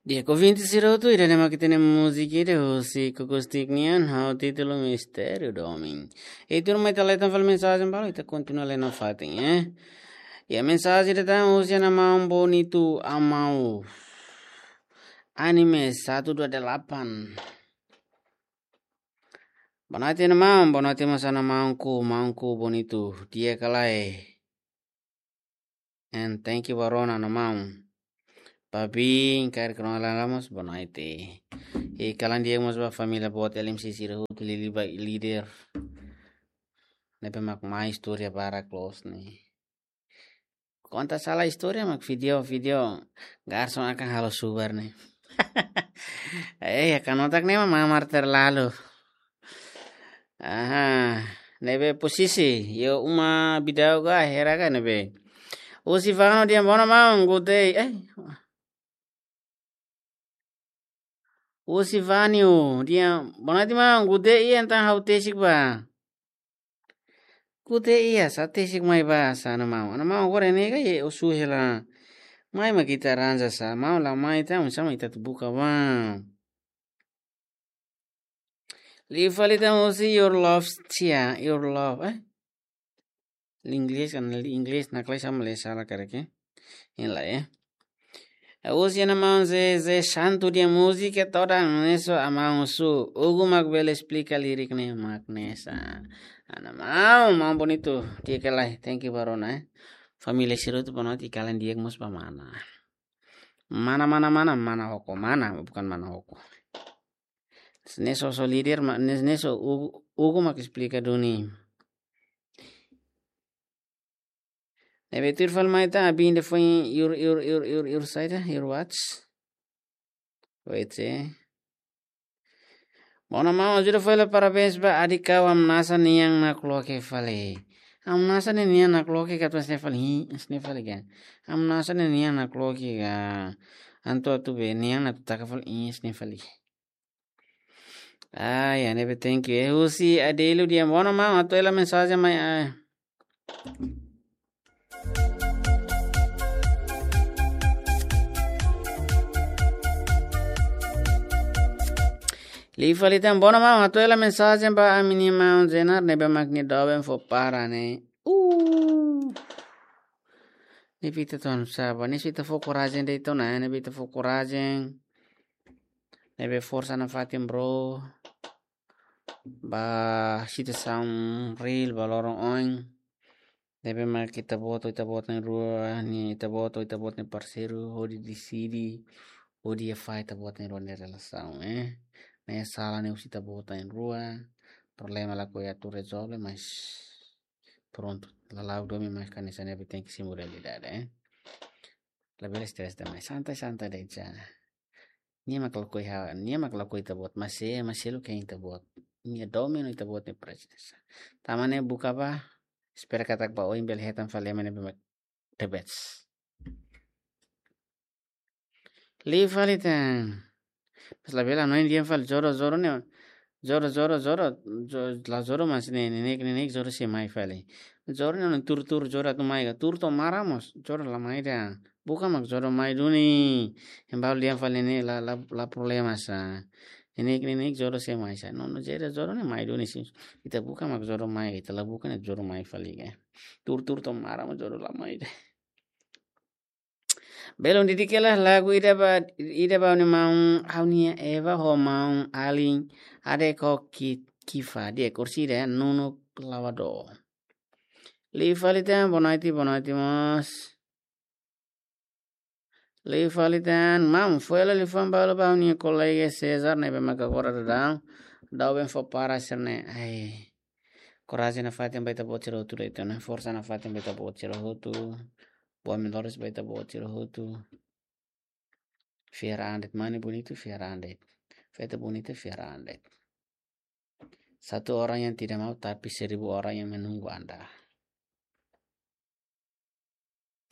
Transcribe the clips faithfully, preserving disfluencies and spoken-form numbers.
Di'ak ouvinte sira hotu, ida-ne'e mak ita-nia múzika ida husi Kukustik nian, ho títulu Mistériu Domin. I tuirmai ita leten fali mensajen balu, ita kontinua leten nafatin, eh. Iha mensajen ida tan husi Ana Maun Bonitu Amau. Anime satu dua delapan. Boa noite, Ana Maun. Boa noite mós Ana Maunku, Maunku Bonitu. Di'ak ka lae? And thank you ba rona, Ana Maun. Papi, kaer krono la lamos, boa noite. I kalan di'ak mós ba família boot L M C sira hotu, liuliu ba líder. Ne'ebé mak mai istória barak loos ne'e. Konta sala istória mak vídeo, vídeo. Garson akan halo subar ne'e. Eh, ya kan otak ne'e mamar terlalu. Aha, ne'ebé posisi, yo uma bidau ga hera ga ne'ebé. Husi Vanu dehan bono maun gudei, eh. Husi Vanu dehan bono ti maun gudei iha entaun ha'u tesik ba. Gudei iha sa tesik mai ba sa Ana Maun. Ana Maun agora ne'e ga ye osu hela. Mai mak ita ranja sa, maun la mai entaun oinsá mak ita atu buka ba. Liu fali tan husi your love tia, your love, eh? Inglés kan, inglés na kelas sama le sala kareke. Ini la, eh. Husi Ana Maun Ze, Ze Santu dehan múzika todan neso Ana Maun su. Ugu mak bele esplika lirik ne'e mak ne'e sa. Ana Maun, Maun Bonitu. Di'ak ka lae, thank you ba rona, eh. Família sira hotu bono ti kalan di'ak mós ba mana. Mana, mana, mana, mana hoko, mana, bukan mana hoko. Neso, so líder, ma-, nes-, neso Ugu, Ugu mak esplika duni. Ne'ebé tuir fali mai tan, abin de foi your, your, your, your, your saida, your watch. Wait, eh. Bono maun, ajuda fali parabéns ba Adi Kau, hamnasa nian nakloke fali. Hamnasa ne'e nian nakloke ka atu hanesan ne'e fali, hi, hanesan ne'e fali ka. Hamnasa ne'e nian nakloke ka. Entaun atu be nian atu taka fali, hi, hanesan ne'e fali. Ah, ya, ne'ebé thank you. Eh, husi Adelu dehan bono maun, atu hela mensajen mai, ah. Liu fali tan bono maun, atu hela mensajen ba ami-nia maun Zenar ne'ebé mak nia doben fó para ne'e. Uh. Ne'ebé ita tun saba, ne'e ita fó korajen de'it ona, ne'ebé ita fó korajen. Ne'ebé forsa nafatin bro. Ba situasaun reál ba loron oin. Ne'ebé mak ita-boot ho ita-boot na'in-rua, ne'e ita-boot ho ita-boot nia parseiru, hodi deside, hodi iha fali ita-boot na'in-rua nia relasaun, eh. Ne'e sala ne'e husi ita-boot na'in-rua, problema lakohi atu rezolve, mas prontu. Lala'ok domin, mas hanesan ne'e tenke simu realidade, eh. Labele stress demais, santai, santai de'it sa. Nia mak lakohi ha, nia mak lakohi ita-boot, mas se, mas seluk hein ita-boot. Nia domin ita-boot nia presensa. Tanba ne'e buka ba, espera katak ba oin bele hetan fali ema ne'ebé mak the best. Liu fali tan. Mas labele hanoin dehan fali jodoh, jodoh ne'e. Jodoh, jodoh, jodoh, jo-, la jodoh mas ne'e, ne'e, ne'e, ne'e, jodoh sei mai fali. Jodoh ne'e tuur, tuur, jodoh atu mai ka. Tuur to'o maran mós, jodoh la mai ida. Buka mak jodoh mai duni. Ema balu dehan fali ne'e la, la, la problema sa. Ne'e, ne'e, ne'e, jodoh sei mai sa. No, no, jodoh, jodoh ne'e mai duni sin. Ita buka mak jodoh mai, ita la buka ne'e jodoh mai fali ka. Tuur, tuur to'o maran mós jodoh la mai ida. Belun, dedika hela lagu ida ba, ida ba ha'u-nia maun, ha'u-nia Eva ho maun alin, ade ko ki-, kifa, di'ak, orsida, nunuk lavadór. Liu fali tan, boa noite, boa noite mós. Liu fali tan, maun, fó hela liafuan balu ba ha'u-nia kolega César, ne'ebé mak agora daudaun, doben fó para sira-ne'e. Ai. Korajen nafatin ba ita-boot sira hotu de'it ona, forsa nafatin ba ita-boot sira hotu. Buat melhores ba ita-boot sira hotu. Fiar an de'it, mane Bonitu, fiar an de'it. Feto Bonita, fiar an de'it. Satu orang yang tidak mau, tapi seribu orang yang menunggu Anda.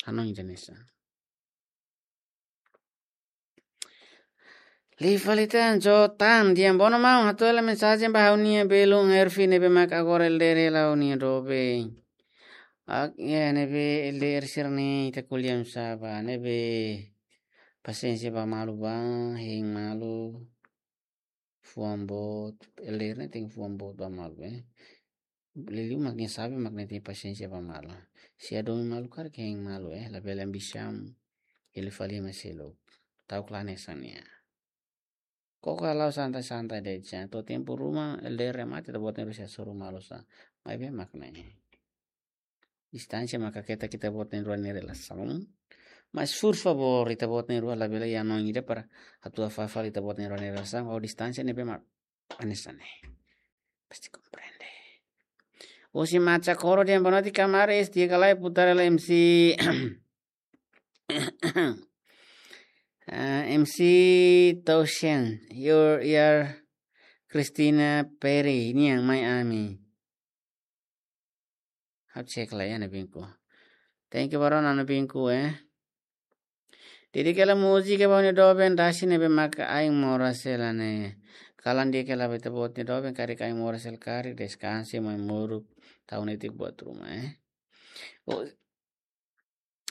Hanoin hanesan. Liu fali tan, Jotan dehan bono maun, hato'o hela mensajen ba ha'u-nia belun Ervi ne'ebé mak agora L D R hela ho nia doben. Ak, ya, ne'ebé L D R sira-ne'e ita ko'alia oinsá ba, ne'ebé Pasiénsia ba malu ba, hein malu. Fuan boot, elder ne'e tenke fuan boot ba malu, eh. Liuliu mak nia sabe, mak nia tenke pasiénsia ba malu. Se ladún malu karik hein malu, eh, labele ambisaun. Ele fali mai seluk. Ta'uk la hanesan nia. Koko halo santai-santai de'it, to'o tempu ruma, elder remata, ita-boot na'in-rua sei hasoru malu sá. Maibé mak ne'e. Distánsia maka keta ita-boot na'in-rua nia relasaun. Mas, por favór, ita-boot na'in-rua labele iha hanoin ida para atu afasta ita-boot na'in-rua nia relasaun, ou distánsia ne'ebé mak hanesan ne'e. Pasti komprende. Husi Macha Koro dehan boa noite, kamaris, di'ak ka lae, putar hela M C. Ah, M C Toshen, your, your Christina Perry, nian mai ami. Ha'u cek lai iha ne'ebé mak. Thank you, barona, ne'ebé mak, eh. Di'ak ka lae múzika ba ha'u-nia doben dasi ne'ebé maka ain moras hela ne'e. Kalan di'ak ka lae ba ita-boot nia doben karik ain moras hela karik deskansa mai moruk tau netik buat ruma, eh. Oh,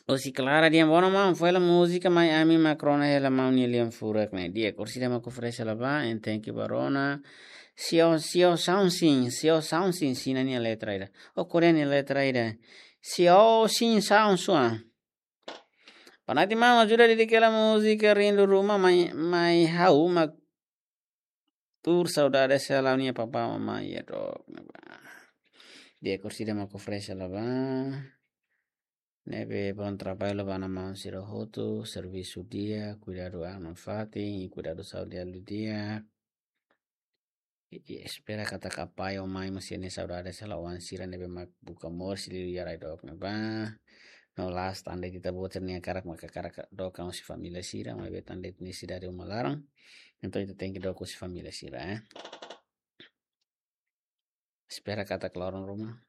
husi Clara dehan boa noite maun, fó hela múzika mai ami mak rona hela maun nia lian furak ne'e. Di'ak, orsida mak oferese hela ba, and thank you barona. Sio, sio Sound Sim, sio Sound Sim, Xina nia letra ida. Oh, Korea nia letra ida. Sio Sim Sound Sua. Boa noite maun, ajuda di'ak ka lae múzika Rindu Ruma mai, mai ha'u mak tuur saudade hela ha'u-nia papá mamá iha dook ne'ebá. Di'ak, orsida mak oferese hela ba. Ne'ebé bom trabalho ba ana-maun sira hotu, servisu di'ak, kuidadu an no fatin, kuidadu saúde di'ak. I, i espera katak apá ho amá mós sente saudade hela oan sira ne'ebé mak buka moris liu iha rai dook ne'ebá. No la'ós tan de'it ita-boot sira-nia hakarak, mak hakarak dook husi família sira, maibé tan de'it nesesidade uma laran. Entaun ita tenke dook husi família sira, eh. Espera katak loron ruma.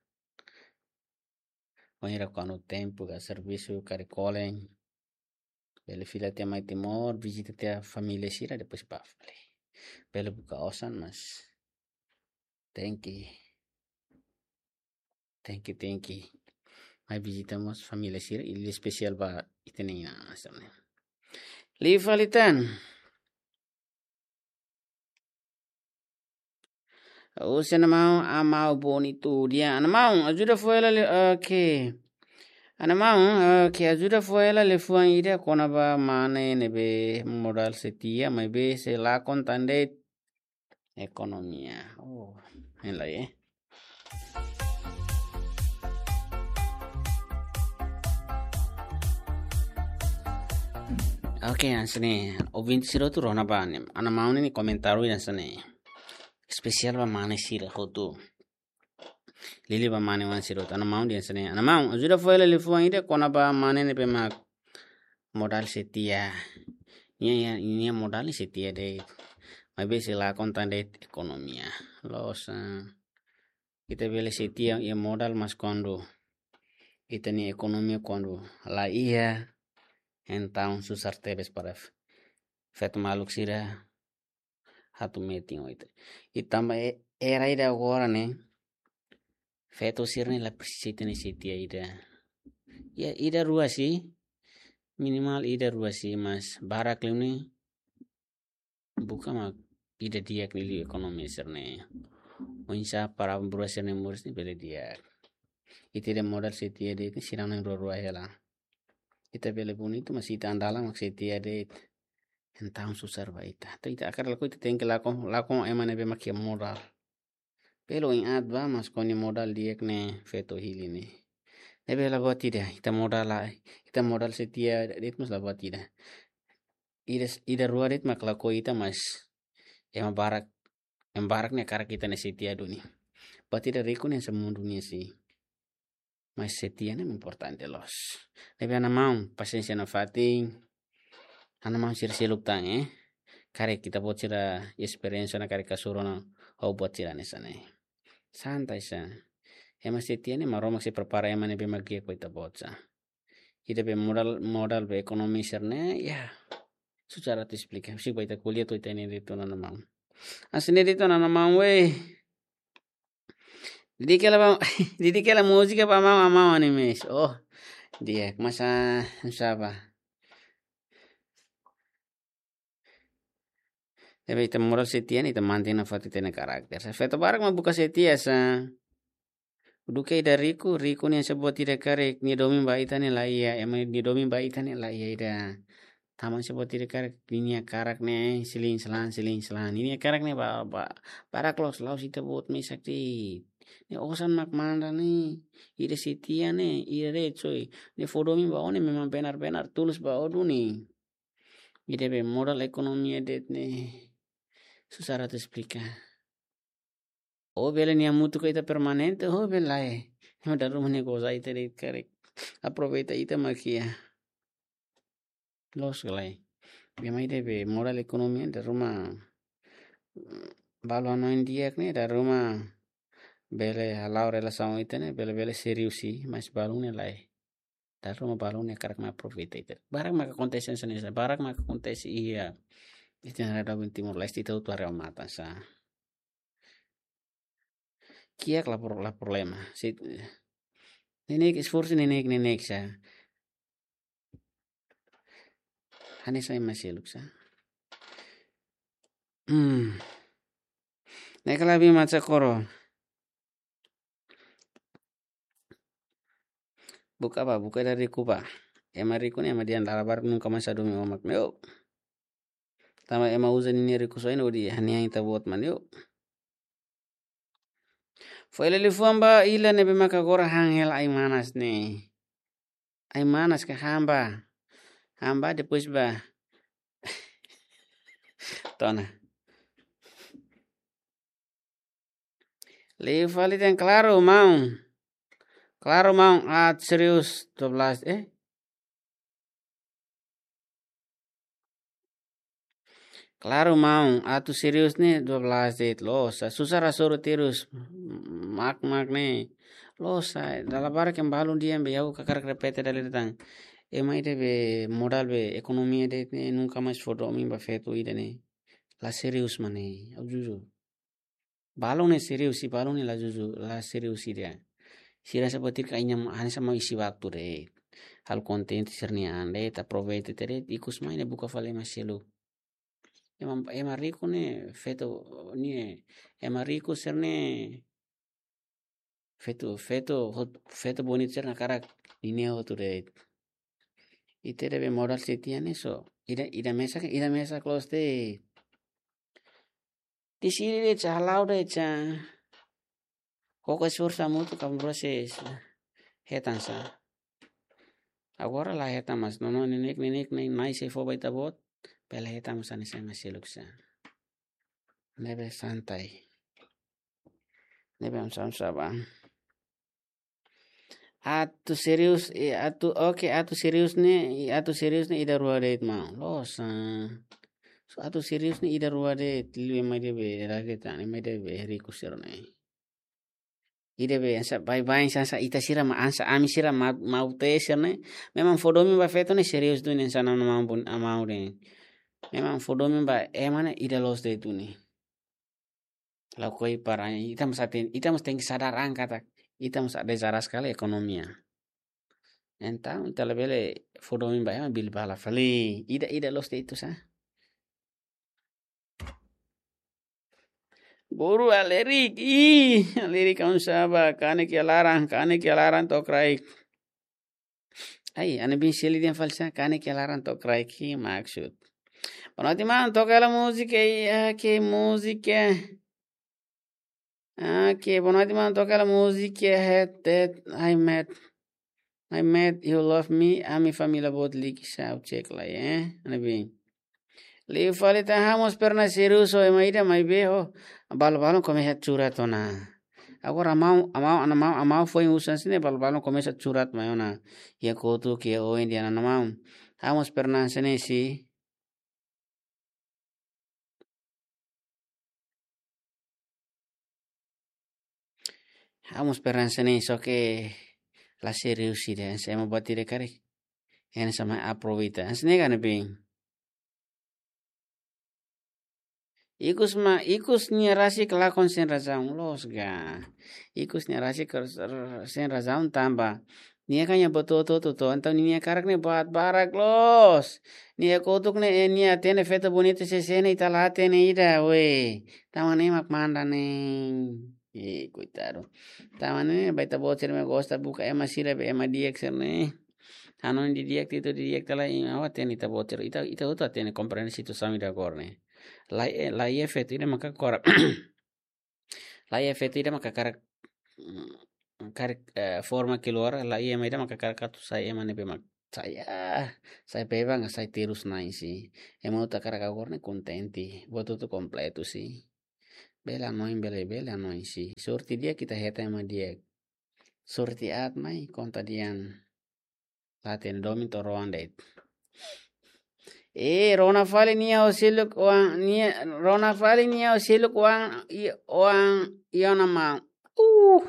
Wainhira kuandu tempu ka servisu karik kolen, bele fila tiha mai Timor, vizita tiha família sira, depois bá fali. Bele buka osan, mas tenke, tenke, tenke mai vizita mós família sira, i espesiál ba ita-nia inan-aman sira-ne'e. Liu fali tan. Husi ana-maun, Amau Bonitu dehan. Ana-maun, ajuda fó hela le, oke. Ana-maun, oke, ajuda fó hela liafuan ida kona-ba mane ne'ebé modal sei tiha, maibé sei lakon tan de'it ekonomia. Oh, hein lai, eh. Oke, hanesan ne'e. Ouvinte sira hotu rona ba ne'e. Ana-maun nia komentáriu hanesan ne'e. Espesiál ba mane sira hotu. Liuliu ba mane oan sira hotu. Ana-maun dehan hanesan ne'e. Ana-maun, ajuda fó hela liafuan ida kona-ba mane ne'ebé mak modal sei tiha. Nia, nia, nia modal ne'e sei tiha de'it. Maibé sei lakon tan de'it ekonomia. Loos, ah, ita bele sei tiha iha modal, mas kuandu ita-nia ekonomia kuandu la iha, entaun susar tebes para f-, feto maluk sira atu metin ho ita. I tanba e-, era ida agora ne'e, feto sira-ne'e la presiza ita-nia sei tiha ida. Ya, ida rua sih, minimal ida rua sih, mas barak liu ne'e buka mak ida di'ak liu ekonomia sira-ne'e. Oinsá para buat sira-ne'e moris ne'e bele di'ak. Ita-nia modal sei tiha de'it, sira na'in-rua-rua hela. Ita bele bonitu, mas ita an dalan mak sei tiha de'it. Entaun susar ba ita. Entaun ita hakarak lakohi, ita tenke lakon, lakon ema ne'ebé mak iha modal. Bele oin aat ba, mas kuandu modal di'ak ne'e feto hili ne'e. Ne'ebé la buat ida, ita modal la, ita modal sei tiha de'it mas la buat ida. Ida, ida rua de'it mak lakohi ita, mas ema barak, ema barak ne'e hakarak ita-nia sei tiha duni. Buat ida riku ne'e hanesan mundu nian sih. Mas sei tiha ne'e importante loos. Ne'ebé ana-maun, pasiénsia nafatin. Ana-maun sira seluk tan, eh. Karik ita-boot sira esperiénsia ona karik hasoru ona ho buat sira hanesan ne'e. Santai sá. Ema sei tiha ne'e Maromak sei prepara ema ne'ebé mak di'ak ba ita-boot sá. Ita-nia modal, modal ba ekonomia sira-ne'e, ya. Susar atu esplika. Husik ba ita ko'alia to'o ita-nia de'it ona, ana-maun. Hanesan ne'e de'it ona, ana-maun, weh. Di'ak ka lae ba, di'ak ka lae múzika ba maun, amau animes. Oh, di'ak, mas, ah, sá ba. Ne'ebé ita modal setia ne'e ita mantein nafatin ita-nia karakter. Sa feto barak mak buka setia sa. Duké ida riku, riku ne'e hanesan buat ida karik, nia domin ba ita ne'e la iha, ema nia domin ba ita ne'e la iha ida. Tanba hanesan buat ida karik, ninia karak ne'e silin selan, silin selan. Ninia karak ne'e ba, ba, barak loos, la'ós ita-boot mesak de'it. Ne'e osan mak manda ne'e, ida setia ne'e, ida de'it soi. Nia fó domin ba ó ne'e memang benar-benar tulus ba ó duni. Ida be modal ekonomia de'it ne'e. Susar atu esplika. Ó bele nia hamutuk ho ita permanente, ó bele lae. Ema dala ruma nia goza ita de'it karik. Aproveita ita mak iha. Loos ka lae. Be mai ida be modal ekonomia dala ruma, mm, balu hanoin di'ak ne'e dala ruma bele hala'o relasaun ita ne'e, bele, bele serius i, mas balun ne'e lae. Dala ruma balun ne'e hakarak mak aproveita ita. Barak mak akontese hanesan ne'e sa, barak mak akontese iha. Ita-nia rain-doben Timor-Leste ita hotu haree ho matan sa. Kiak la pro-, la problema. Se, neineik esforsu neineik, neineik sa. Hanesan ema seluk sa. Hmm. Ne'e kala bi maca koro. Buka ba, buka ida riku ba. Ema riku ne'e ema dehan dala barak nunka mais hadomi ó mak ne'e. Tanba ema uza ninia rikusoin hodi hanehan ita-boot mak ne'e. Foin liafuan ba ila ne'ebé maka agora han hela ai-manas ne'e. Ai-manas ka han ba. Han ba depois ba. Tona. Liu fali dehan klaru maun. Klaru maun, atu serius dua belas, eh? Klaru maun, atu serius ne'e dua belas de'it loos sa. Susar hasoru terus. Mak, mak ne'e. Loos sa, dala barak ema balun dehan be ha'u hakarak repete dala ida tan. Ema ida be modal be ekonomia de'it ne'e nunka mais fó domin ba feto ida ne'e. La serius mak ne'e. Ha'u jujur. Balun ne'e serius i, balun ne'e la jujur, la serius i de'it. Sira hanesan buat ida karik nia hanesan mak isi waktu de'it. Halo kontente sira-nia an de'it, aproveita de'it, ikus mai ne'e buka fali ema seluk. Ema, ema riku ne'e, feto ne'e, ema riku sira-ne'e, feto, feto, hot-, feto bonitu sira-ne'e hakarak ninia hotu de'it. Ita ida be modal setia ne'e so. Ida, ida mesak, ida mesak loos de'it. Deside de'it sa, hala'o de'it sa. Koko esforsu hamutuk ka proses hetan sa. Agora la hetan mais, nono neineik, neineik, neineik, nai sei fó ba ita-boot. Bele hetan mais hanesan ema seluk sa. Ne'ebé santai. Ne'ebé am sam saban. Atu serius, eh, atu, oke, atu serius ne'e, i atu serius ne'e ida rua de'it maun. Loos sa. So atu serius ne'e ida rua de'it, liu ema ida be rakyat tani, ema ida be riku sira-ne'e. Ida be hanesan baibain hanesan ita sira mak hanesan ami sira ma-, maun-tee sira-ne'e. Memang fó domin ba feto ne'e serius duni hanesan nia maun bun, ah, maun de'it. Memang fó domin ba ema ne'e ida loos de'it duni. Lakohi para ita mós aten-, ita mós tenke sadar an katak ita mós dezaras kala ekonomia. Entaun ita labele fó domin ba ema bilbala fali. Ida, ida loos de'it atu sa. Boru Alerik, ih, Alerik kaun saba, kanek iha laran, kanek iha laran to'o kraik. Ai, Ana Bin Seli dehan fali sa, kanek iha laran to'o kraik, ke maksud. Boa noite, maun, toka hela múzika, eh, ke múzika. Ah, ke, boa noite, maun, toka hela múzika, het, het, ai, met. Ai, met, you love me, ami família boot liki sa, ha'u cek lai, eh, Ana Bin. Liu fali tan, ha'u mós pernah serius ho ema ida maibé ho balu-balu komesa curhat ona. Agora maun, maun, Ana maun, maun foin husu hanesan ne'e balu-balu komesa curhat mai ona. Iha kotuk, iha oin dehan Ana maun. Ha'u mós pernah hanesan ne'e si. Ha'u mós pernah hanesan ne'e só ke la serius ida, hanesan ema buat ida karik. Hanesan ema aproveita. Hanesan ne'e ka Ana Bin. Ikus mak, ikus nia rasik lakon sein razaun, loos ka. Ikus nia rasik r-, r-, sein razaun tanba Nia kan ya boto to to to. Entaun nia hakarak ne'e buat barak loos. Nia kotuk ne'e, eh, nia hatene feto bonitu sesene ita la hatene ida, we. Tanba ne'e mak manda ne'e. Eh, koitadu. Tanba ne'e ba ita-boot sira-ne'ebé gosta buka ema sira be ema di'ak sira-ne'e. Hanoin didi'ak, titu didi'ak, ita la iha, ha'u hatene ita-boot sira. Ita, ita hotu hatene, komprende situasaun ida agora ne'e. La, eh, la iha feto ida maka hakarak. La iha feto ida maka hakarak, mm, hakarak, eh, forma keluar, la iha ema ida maka hakarak atu sai ema ne'ebé mak sai, ah, sai bebas, sai terus na'in si. Ema hotu hakarak agora ne'e kontente, buat hotu kompletu si. Bele hanoin, bele, bele hanoin si. Sorte di'ak ita hetan ema di'ak. Sorte aat mai konta dehan. La hatene, domin to'o rohan de'it. Eh, rona fali nia ho seluk oan, nia, rona fali nia ho seluk oan, i, oan, i ona maun. Uh,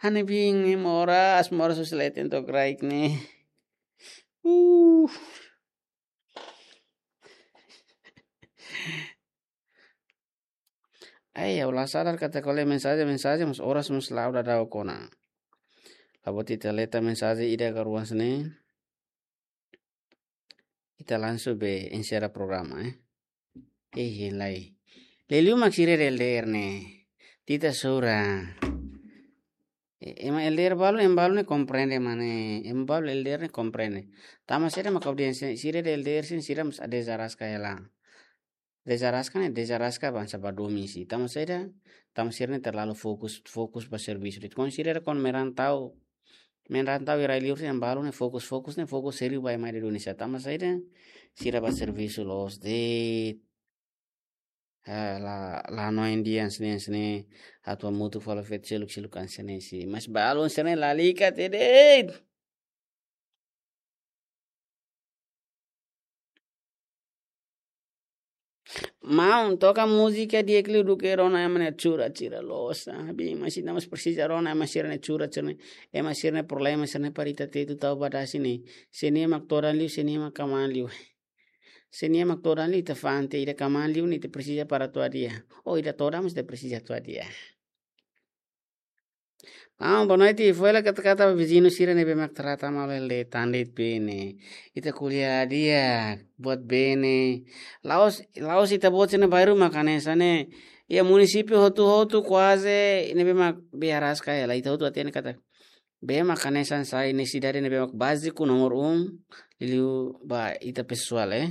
hane bin, eh, moras, moras husi leten to'o kraik ne'e. Uh. Ai, ha'u la sadar katak ko'alia mensajen, mensajen, mas oras mós la'o daudaun ona. Labele ita leta mensajen ida ka rua hanesan ne'e. Ita langsung be enserra programa, eh. Eh, lae. Liuliu mak sira L D R ne'e. Ita sura. Eh, ema L D R balu, ema balu ne'e komprende, mane. Ema balu L D R ne'e komprende. Tanba saida mak audiénsia sira L D R sira, sira mós dezaraska hela. Dezaraska ne'e, dezaraska ba hanesan ba domin si. Tanba saida, tanba sira ne'e terlalu fokus, fokus ba servisu. Depois sira kon merantau, merantau iha rai-liur sira, ema balu ne'e fokus, fokus ne'e fokus sériu ba ema ida duni sa. Tanba saida, sira ba servisu loos de'it. Ah, la, la no Indian sini, sini, atu hamutuk fali feto seluk, seluk hanesan ne'e si. Mas balu sira ne'e lalika tede. Maun, toka múzika di'ak liu duké rona ema nia chura, chura loos. Abi, mas ita mós presiza rona ema sira-nia chura, chura ne'e. Ema sira-nia problema sira-ne'e para ita tetu tau ba dasi ne'e. Se nia mak todan liu, se nia mak kamaan liu. Se nia mak todan liu, ita fa'an tiha, ida kamaan liu ne'e ita presiza para atu hadi'a. Oh, ida todan mós ita presiza atu hadi'a. Ah, boa noite. Foin hela katak-katak ba viziñu sira ne'ebé mak trata malu hela de'it, tan de'it bene. Ita ko'alia di'ak, buat bene. La'ós, la'ós ita-boot sira-ne'e bairru mak hanesan ne'e. Iha munisípiu hotu-hotu kuaze ne'ebé mak be araska hela. Ita hotu hatene katak be mak hanesan sai nesesidade ne'ebé mak báziku nomor um, liuliu ba ita pesoál, eh.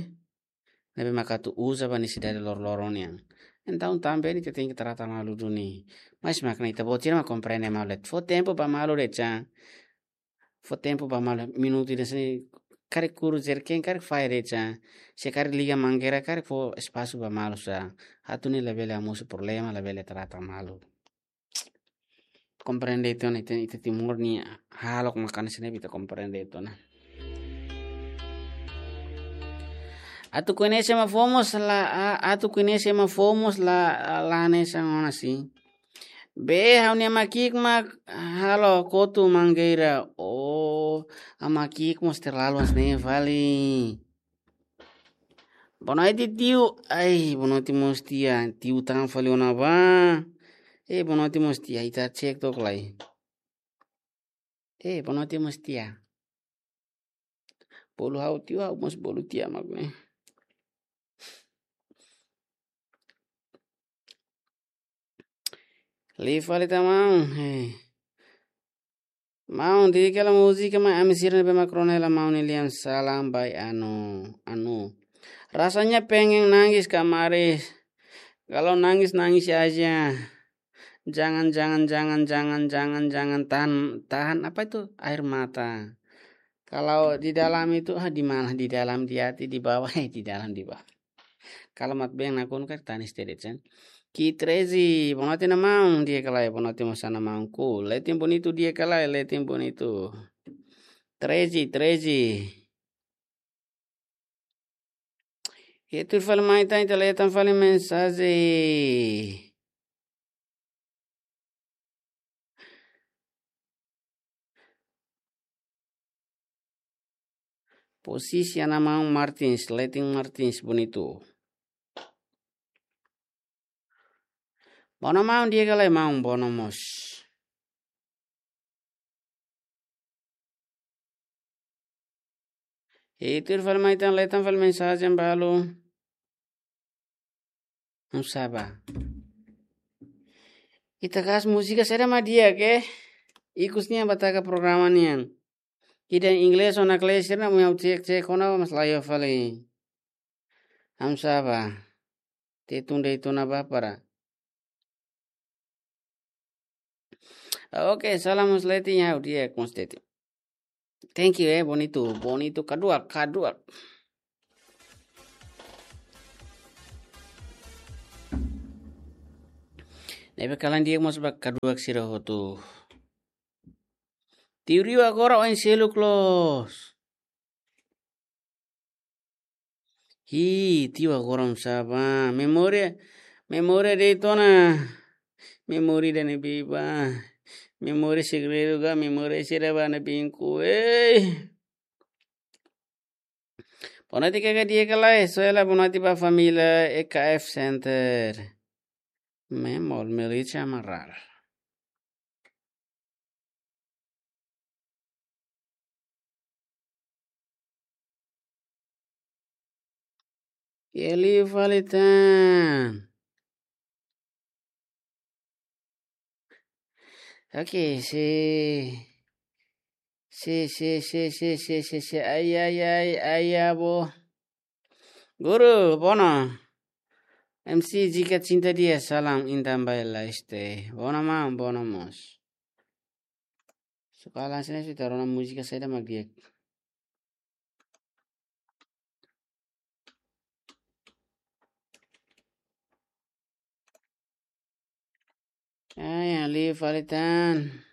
Ne'ebé mak atu uza ba nesesidade loroloron nian. Entaun tanba ne'e ita tenke trata malu duni. Mas mak ne'e ita-boot sira mak komprende malu de'it. Fó tempu ba malu de'it sa. Fó tempu ba malu, minutu ida sini karik kuru jerken, karik fahe de'it sa. Se karik liga mangeira, karik fó espasu ba malu sa. Atu nune'e labele hamosu problema, labele trata malu. Komprende tiha ona, ita, ita Timor nia hahalok mak hanesan ne'e, ita komprende tiha ona. Atu koñese ema foun mós la, a-, atu koñese ema foun mós la, la hanesan ona si. Be, ha'u-nia ama ki'ik mak halo kotu mangeira. Oh, ama ki'ik mós terlalu hanesan ne'e fali. Boa noite, tiu. Ai, boa noite mós tia. Tiu tan fali ona ba. Eh, boa noite mós tia. Ita cek tok lai. Eh, boa noite mós tia. Bolu ha'u tiu, ha'u mós bolu tia mak ne'e. Liu fali tan maun. Eh. Maun, di'ak hela múzika mai ami sira ne'ebé mak rona hela maun, nia lian salam bai anu, anu. Rasanya pengen nangis kamaris. Kalau nangis, nangis aja. Jangan, jangan, jangan, jangan, jangan, jangan tahan, tahan apa itu? Air mata. Kalau di dalam itu, ah, di mana? Di dalam, di hati, di bawah, eh, di dalam, di bawah. Kalamat beng nakonu karik tanis tede cen. Ki Trezi, boa noite, maun, di'ak ka lae? Boa noite mós ona, maun. Ku, Letin Bonitu, di'ak ka lae? Letin Bonitu. Trezi, Trezi. Ita tuur fali mai tan, ita leten fali mensajen. Posisi ana maun Martins, Letin Martins, Bonitu. Bono maun, di'ak ka lae maun, bono mós. Ita fali mai tan, leten fali mensajen balu. Hamsa ba. Ita kas múzika saida mak di'ak ke? Ikus nian ba taka programa nian. Ida inglés ona kle sira na mu yau cek cek ona mas layo fali. Hamsa ba. Te tunde itu na ba para. Oke, salam mós leten ya, dia konsteti. Thank you, eh, bonitu, bonitu, kaduak, kaduak. Ne'ebé kalan dia mós ba kaduak sira hotu. Tiu Rio agora oin seluk loos. Hi, tiu agora hamsa ba. Memória, memória de'it ona. Memória ida-ne'ebé ba. Memória segredu ka, memória sira ba ne'ebé inkun. Ei. Boa noite, Kaka Diego Lai. Só ela, boa noite ba família E K F Center. Memol, Melissa Amaral. Eli fali tan. Oke, si. Si, si, si, si, si, si, si. Ai, ai, ai, ai, abo. Guru, bono. M C Jika Cinta Dia, salam intan ba ela este. Bono maun, bono mós. Suka langsung ita rona múzika saida mak di'ak. Ai, ali fali tan.